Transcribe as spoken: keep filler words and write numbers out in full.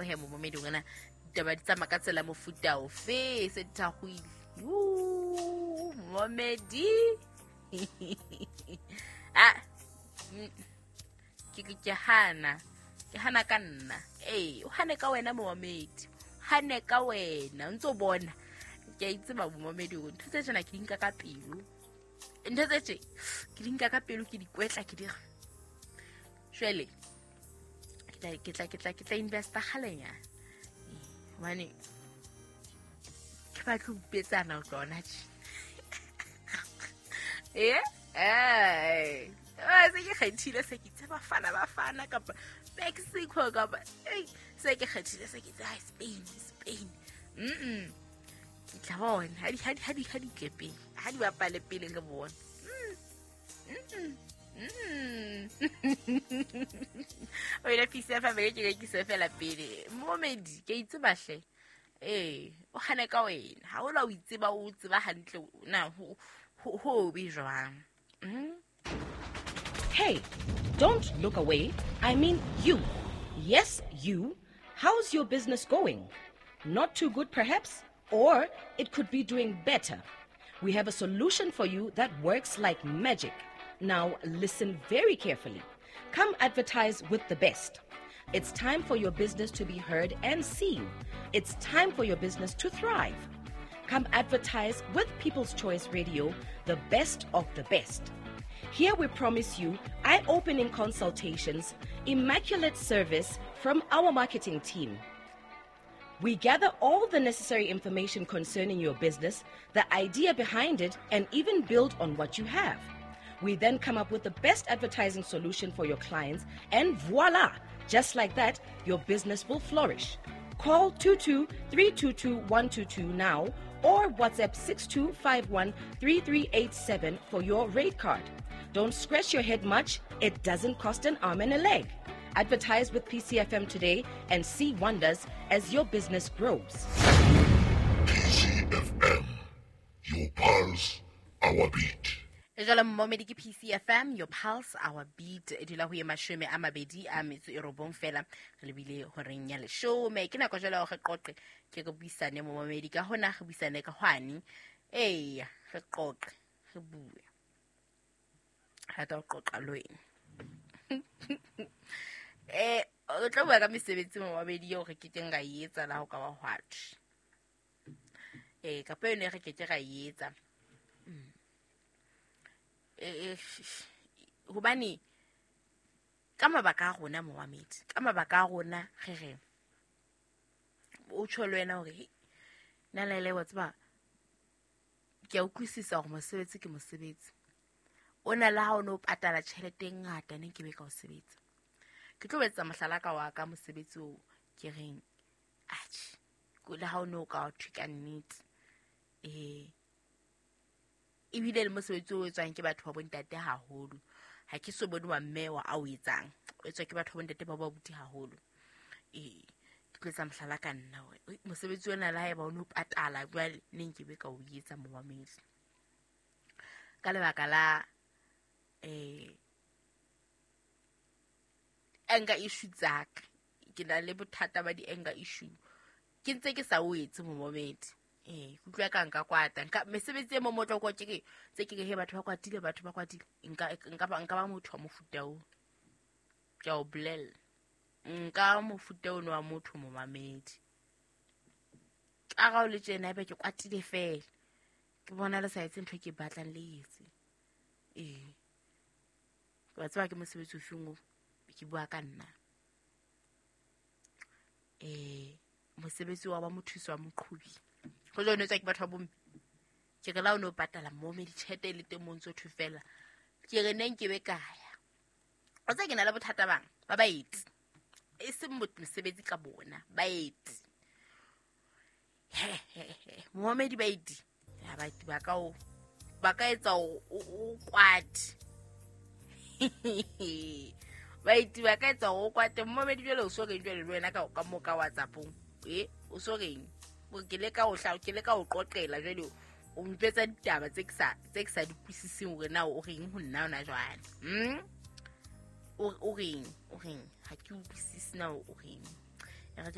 he momedi ngwana ditaba di tsamaya ka tsela mofuta ofe se di thakgoile. Momedi ah ke ke hana ke hana ka nna eh o hane ka wena momedi hane ka wena o ntso bona ke a itse ba momedi o ntho tse tjena ke di nka ka pelo ntho tse tje ke di nka ka pelo ke di kwetla ke di jwale ke tla ke tla ke tla ke tla investa kgalenya hobane ke batla ho petsana o tlona tje eh eh se ke kgethile se ke tseba fana ba fana kapa Mexico kapa eh se ke kgethile se ke tseba Spain Spain mm ke tla bona ha di ha di ha di ha di tle pele ha di bapale pele re bona mm mm o ile P C F M ke ke se fela pele momedi ke itse bahle eh o hane ka wena ha o la o itseba o tseba hantle na ho ho be jwang. mm Hey, don't look away. I mean you. Yes, you. How's your business going? Not too good, perhaps? Or it could be doing better. We have a solution for you that works like magic. Now, listen very carefully. Come advertise with the best. It's time for your business to be heard and seen. It's time for your business to thrive. Come advertise with People's Choice Radio, the best of the best. Here we promise you eye-opening consultations, immaculate service from our marketing team. We gather all the necessary information concerning your business, the idea behind it, and even build on what you have. We then come up with the best advertising solution for your clients, and voila! Just like that, your business will flourish. Call two two three two two one two two now or WhatsApp six two five one three three eight seven for your rate card. Don't scratch your head much. It doesn't cost an arm and a leg. Advertise with P C F M today and see wonders as your business grows. P C F M, your pulse, our beat. Jwale momedi ke P C F M, your pulse, our beat. E dula ho ye mashome a mabedi a metso e robong fela re lebile horeng ya leshome. Ke nako jwale hore re qoqe ke re buisane momedi ka hona re buisane ka hwane. Eya, re qoqe, re bue. Rata ho qoqa le wena. Eh, o tlo bua ka mesebetsi momedi eo re ke keng ra e etsa la ho ka ba hwatjhe. Eh, kapa yone re ke ke ra e etsa. Mm. Eh, hobane ka mabaka a rona momedi, ka mabaka a rona re re o tjho le wena hore nna le le wa tseba ke a utlwisisa hore mosebetsi ke mosebetsi. O na le ha o no patala tjhelete e ngata ne ke be ka o sebetsa. Ke tlo etsa mohlala ka wa ka mosebetsi o ke reng atjhe le ha o no ka o thwe ka nnete. Eh ebile le mosebetsi o etswang ke batho ba bontate haholo. Ha ke so bone wa mme wa a o etsang. O etswa ke batho ba bontate ba ba buti haholo. Eh ke tlo etsa mohlala ka nna hore mosebetsi ona le haeba o no patala jwale ne nke be ka o etsa momamedi. Ka lebaka la eh anger issue tsaka ke na le bothata ba di anger issue ke ntse ke sa o etse momamedi. Eh kutlwa ka nka kwata nka mesebetsi e mo motlo kwa ke tse ke he batho ba kwatile batho ba kwatile nka nka ba nka ba motho wa mofuta o ke o bolella nka mofuta ono wa motho momamedi ka ga o le tjena ebe ke kwatile fela ke bona le sa etse ntho ke batlang le etse. Eh wa tseba ke mosebetsi o feng o ke bua ka nna. Eh mosebetsi wa ba mothusi wa moqhobi go jone tswa ke batho ba bomme ke re la o no patala momedi tjhelete le teng mo ntso thwe fela ke re neng ke be kaya o tsa ke na le bothata bang ba baeti e seng mosebetsi ka bona baeti he he he momedi baeti ya baeti ba ka o ba ka etsa o kwate baeti ba ka etsa o kwate momedi jwale o so reng jwale le wena ka ka mo ka WhatsApp-ong eh o so reng ke le ka o hla ke le ka o qoqela jwale o mpetsa ditaba tse ke sa tse ke sa di kwisiseng hore na o reng ho nna ona jwale mm o o reng o reng ha ke utlwisise na o reng.